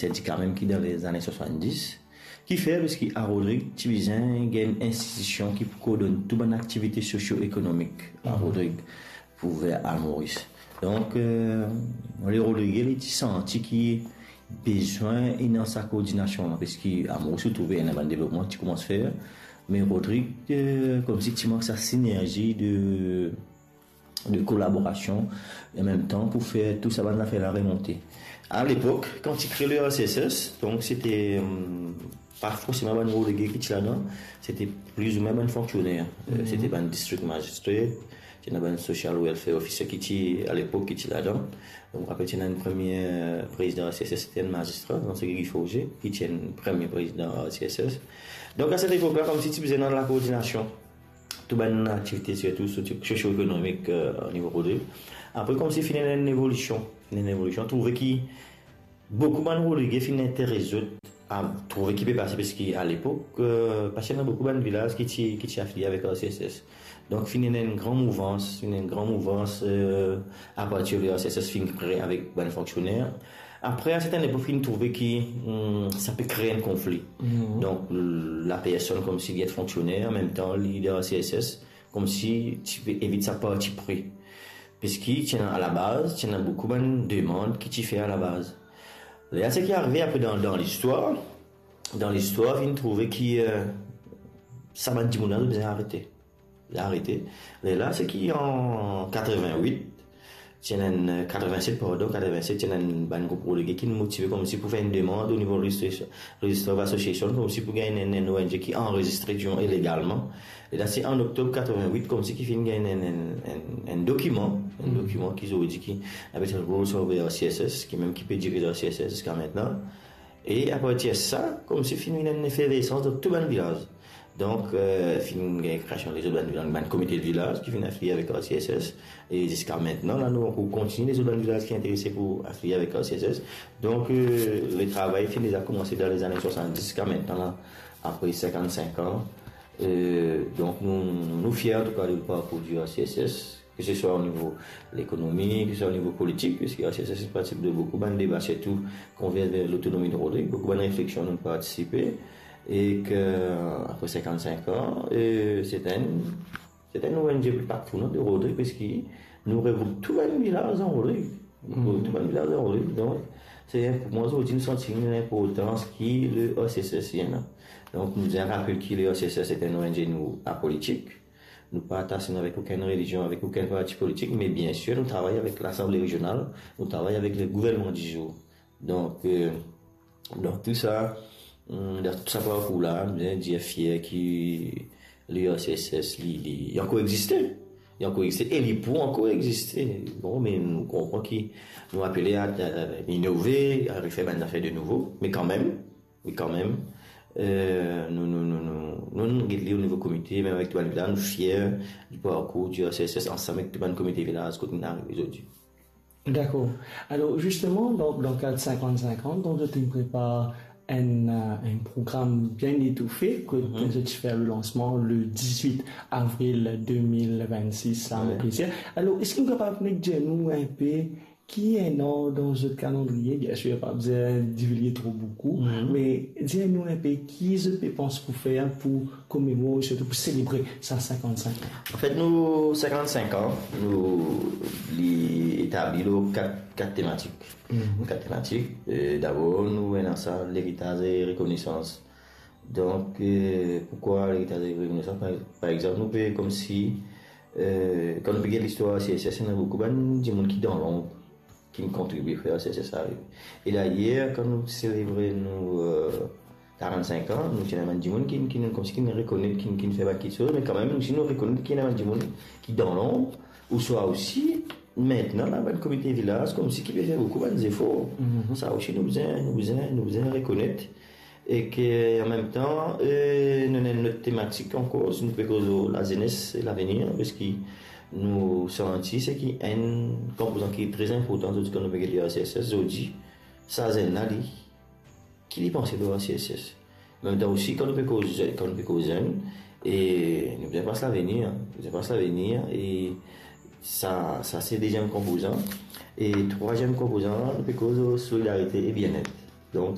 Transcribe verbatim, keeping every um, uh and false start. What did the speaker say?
sendika mem ki dan lezane swasanndis. Kifer? Parski a Rodrig ti bizin gagn enn institision ki pou koordonn tou bann aktivite sosio-ekonomik a Rodrig pou ver al Moris. Donk, eh, le Rodrige, li ti santi ki bizin ena sa koordinasion la, parski a Moris ou trouve ena bann devlopman ki ti koumans fer, me Rodrig, eh, koumsi ti mank sa sinerzi de, de kolaborasion, e an mem tan pou fer tou sa bann zafer la remonte. A lepok, kan ti kre le R C S S, donk sete, hum, pa forseman bann Rodrige ki ti ladan, sete plizoumwin bann fonksioner. Eh, sete bann district magistrate, ti ena bann social welfare officer ki ti, a lepok, ki ti ladan. Donk, apre ti ena enn premie prezidan R C S S, sete enn mazistra, donk se Guy Forger, ki ti enn premie prezidan R C S S. Donk, a set epok la, koumsi ti bizin ena lakoordinasion tou bann aktivite, sirtou sosio-ekonomik, eh, o nivo Rodrig. Apre, koumsi finn ena enn evolision, finn ena enn evolision, trouve ki boukou bann Rodrige finn interes zot a trouve ki pe pase, parski a lepok, eh, pa ti ena boukou bann vilaz ki ti, ki ti afilie avek R C S S. Donk, finn ena enn gran mouvans, finn ena enn gran mouvans, eh, apartir de R C S S finn kre avek bann fonksioner. Apre, a sertenn epok, finn trouve ki, hmm, sa pe kre enn konfli. Donk, l-, lapersonn koumsi li et fonksioner, an mem tan, li dan R C S S, koumsi ti pe evit sa parti pri. Parski ti ena alabaz, ti ena boukou bann demann ki ti fer alabaz. Lerla, seki arive apre dan, dan listwar, dan listwar, finn trouve ki, eh, sa bann dimoun la, zot bizin arete. Zot arete. Lerla, seki an katreven-wit, ti ena enn, eh, katreven-set, pardon, katreven-set, ti ena enn bann group Rodrige ki motive koumsi pou fer enn demann o nivo Redistri-, Register of Association, koumsi pou gagn enn, enn O N G ki anrezistre, dion, ilegalman. E la, se an oktob katreven-wit, koumsi ki finn gagn enn, enn, enn, enn dokiman, enn dokiman ki zordi ki apel Rules of R C S S, ki mem ki pe direz R C S S ziska aster. E apartir sa, koumsi finn vinn enn efervesans dan tou bann vilaz. Donk, eh, finn gagn kreasion lezot bann, bann komite de vilaz ki finn afilie avek R C S S. E ziska aster la, nou ankor kontinie lezot bann vilaz ki interese pou afilie avek R C S S. Donk, eh, le travay finn deza koumanse dan lezane swasanndis ziska aster la, apre sinkant-sink an. Eh, donk, nou, nou fier, antouka, de parkour di R C S S, ke se swa o nivo lekonomi, ke se swa o nivo politik, parski R C S S partisipe dan boukou bann deba, sirtou kan vinn ver lotonomi de Rodrig, boukou bann refleksion nou partisipe, e ke, apre sinkant-sink an, eh, se enn, se enn O N G patron de Rodrig, parski nou regroup tou bann vilaz dan Rodrig. Nou regroup tou bann vilaz dan Rodrig. Donk, se pou mwa, zordi, nou santi enn inportans ki le R C S S ena. Donk, nou bizin rapel ki le R C S S se enn O N G nou apolitik. Nou pa atase nou avek okenn relizion, avek okenn parti politik, me biensir, nou travay avek Lasanble Rezional, nou travay avek le gouvernman di zour. Donk, eh, donk tou sa, hum, dan tou sa parkour la, nou bizin dir fier ki le R C S S, li, li, li ankor existe. Li ankor existe e li pou ankor existe. Bon, me nou konpran ki nou apele a, a, a inove, a refer bann zafer de nouvo, me kanmem, me kanmem, eh, nou, nou, nou, nou, nou, nou get li o nivo komite, mem avek tou bann vilaz, nou fier di parkour di R C S S ansam avek tou bann komite vilaz kot nou arive zordi. Dakor. Alor, zisteman, dan, dan kad sinkant-sink an, donk, zot inn prepar enn, eh, enn program bien etoufe, kot zot ti fer le lansman le diz-wit avril de mil vennsis, sa, mo plezir. Alor, eski nou kapav nek dir nou inpe ki ena dan zot kalandriye? Biensir, pa bizin divilge tro boukou, me dir nou inpe ki zot pe panse pou fer pou komemore, sirtou pou selebre sa sinkant-sink an. Anfet, nou sinkant-sink an, nou li etabli lor kat, kat tematik. Kat tematik. Eh, dabor, nou ena sa, leritaz e rekonesans. Donk, eh, poukwa leritaz e rekonesans? Par, par exanp, nou pe koumsi, eh, kan nou pe get listwar R C S S, ena boukou bann dimoun ki dan lonb, ki'nn kontribie pou R C S S arive. E dayer, kan nou selebre nou, eh, karant-sink an, nou ti ena bann dimoun ki, ki nou koumsi ki'nn rekonet, ki, ki'nn fer bann kiksoz, me kanmem, nou osi nou rekonet ki ena bann dimoun ki dan lonb, ouswa osi, aster la, bann komite vilaz, koumsi ki pe fer boukou bann zefor. Sa osi, nou bizin, nou bizin, nou bizin rekonet. E ke, an mem tan, eh, nou ena enn lot tematik ankor, si nou pe koz lor lazenes e lavenir, parski nou santi seki enn konpozan ki tre inportan, zordi kan nou pe get R C S S, zordi, sa zenn la, li, ki li panse lor R C S S. An mem tan osi, kan nou pe koz, kan nou pe koz zenn, e nou bizin pans lavenir, nou bizin pans lavenir, e sa, sa se deziem konpozan. E trwaziem konpozan, nou pe koz solidarite e bienet.